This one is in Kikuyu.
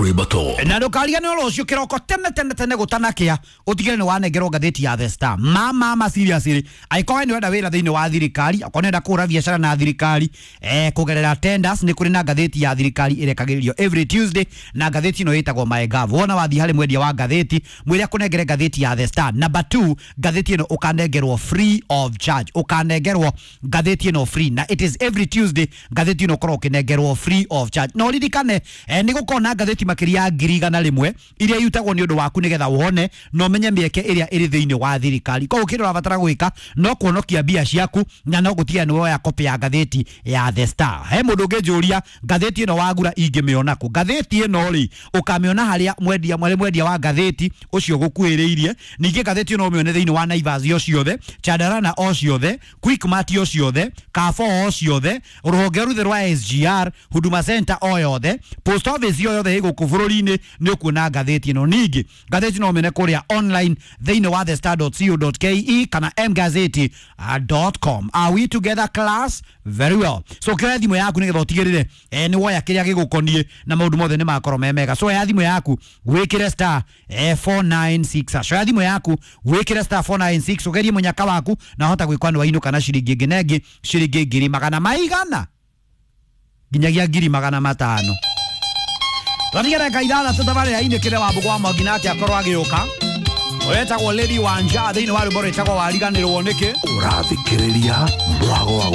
Ribato. Na ndũkariganĩrwo rũciũ kĩroko tene tene tene gũtanakĩa ũtigĩre nĩ wanengerwo ngathĩti ya The Star. Ma ma ma seriously, angĩkorwo we nĩ ũrenda wĩra thĩinĩ wa thirikari, okorwo nĩ ũrenda kũhũra biacara na thirikari, kũgerera tenders, nĩ kũrĩ na ngathĩti ya thirikari ĩrekagĩrĩrio every Tuesday, na ngathĩti ĩno ĩtagwo MyGov. Wona wathiĩ harĩ mwendia wa ngathĩti, mwĩre akũnengere ngathĩti ya The Star number 2. Ngathĩti ĩno ũkanengerwo free of charge, ũkanengerwo ngathĩti ĩno free, na it is every Tuesday ngathĩti ĩno ũkorwo ũkĩnengerwo free of charge. Na ũririkane, nĩ gũkorwo na ngathĩti makĩria ya 100,000 iria irutagwo nĩ ũndũ waku nĩgetha wone na ũmenye mĩeke ĩrĩa ĩrĩ thĩinĩ wa thirikari. Koguo kĩrĩa ũrabatara gwĩka no kuonokia mbia ciaku na no gũtiga nĩ woya copy ya ngathĩti ya The Star. He mũndũ ũngĩnjũria ngathĩti ĩno wagura ingĩmĩona kũ? Ngathĩti ĩno rĩ, ũkamĩona harĩa mwendia, harĩ mwendia wa ngathĩti ũcio ũgũkuhĩrĩirie. Ningĩ ngathĩti ĩno ũmĩone thĩinĩ wa Naivas o ciothe, Chandarana o ciothe, Quickmart o ciothe, Carrefour o ciothe, rũhonge ruthe rwa SGR, Huduma Center o yothe, post office o yothe ĩ gũkũ bũrũri-inĩ nĩ ũkuona ngathĩti ĩno. Ningĩ ngathĩti no ũmĩone kũrĩa online thĩinĩ wa thestar.co.ke kana mgazeti.com. Are we together, class? Very well. So kĩoya thimũ yaku nĩgetha ũtigĩrĩre, nĩ woya kĩrĩa gĩgũkoniĩ na maũndũ mothe nĩ makorwo me mega. So oya thimũ yaku wĩkĩre star 496 hash. Oya thimũ yaku wĩkĩre star 496 ũgerie mũnyaka waku na hota gwĩkwa nĩ wainũka na ciringi ĩngĩ na ĩngĩ, ciringi ngiri magana maigana nginyagia 500,000. Twatigere ndagĩka 6 tabarĩra-inĩ kĩrĩa Wambũgũ wa Mwangi nake akorwo agĩũka, wetagwo Lady Wanja thĩinĩ wa rwĩmbo rwĩtagwo Wariganĩrwo Nĩkĩ. Ũrathikĩrĩria Mwago wa.